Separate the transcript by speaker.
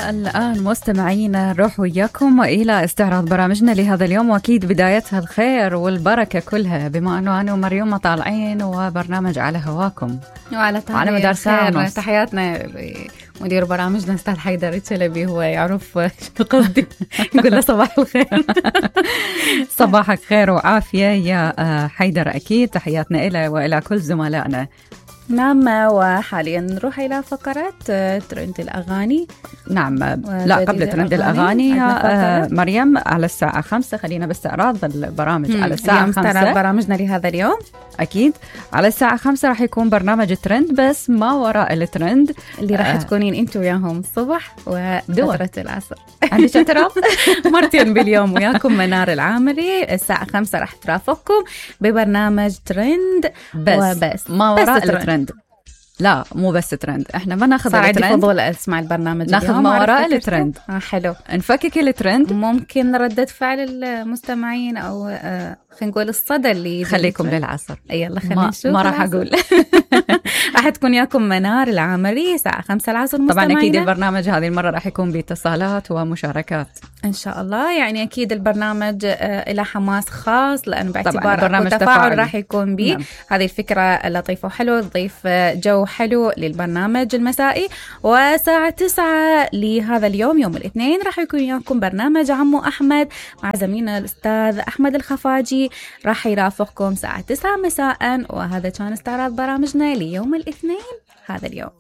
Speaker 1: الآن مستمعينا نروح وياكم إلى استعراض برامجنا لهذا اليوم، وأكيد بدايتها الخير والبركة كلها، بما أنه أنا ومريوم طالعين وبرنامج على هواكم
Speaker 2: وعلى
Speaker 1: مدار ساعة ونص.
Speaker 2: تحياتنا مدير برامجنا أستاذ حيدر الشلبي، هو يعرف شو قصدي. يقول له صباح الخير.
Speaker 1: صباحك خير وعافية يا حيدر. أكيد تحياتنا إلى وإلى كل زملائنا.
Speaker 2: نعم، وحاليا نروح إلى فقرات ترند الأغاني.
Speaker 1: نعم، لا قبل ترند الأغاني يا مريم على الساعة 5 خلينا باستعراض البرامج على الساعة 5.
Speaker 2: استعراض برامجنا لهذا اليوم
Speaker 1: أكيد على الساعة 5 راح يكون برنامج الترند، بس ما وراء الترند
Speaker 2: اللي راح تكونين انتوا وياهم الصبح وفترة العصر.
Speaker 1: عندي اعتراض
Speaker 2: مرتين باليوم وياكم منار العامري. الساعة 5 راح ترافقكم ببرنامج ترند
Speaker 1: بس ما وراء الترند. لا مو بس ترند، احنا ما ناخذ الترند.
Speaker 2: عندي فضول اسمع البرنامج،
Speaker 1: ناخذ ما وراء الترند.
Speaker 2: حلو،
Speaker 1: نفكك الترند.
Speaker 2: ممكن ردة فعل المستمعين او خلينا نقول الصدى اللي
Speaker 1: خليكم للعصر.
Speaker 2: يلا خلينا نشوف.
Speaker 1: ما راح اقول.
Speaker 2: راح تكون ياكم منار العامري الساعة 5 العصر.
Speaker 1: طبعا اكيد البرنامج هذه المرة راح يكون باتصالات ومشاركات
Speaker 2: ان شاء الله. يعني اكيد البرنامج الى حماس خاص، لانه باعتبار
Speaker 1: التفاعل
Speaker 2: راح يكون به. نعم. هذه الفكرة لطيفة وحلوة، تضيف جو حلو للبرنامج المسائي. وساعة 9 لهذا اليوم يوم الاثنين راح يكون ياكم برنامج عمو أحمد مع زميلنا الأستاذ أحمد الخفاجي، راح يرافقكم ساعة 9 مساء. وهذا كان استعراض برامجنا ليوم الاثنين هذا اليوم.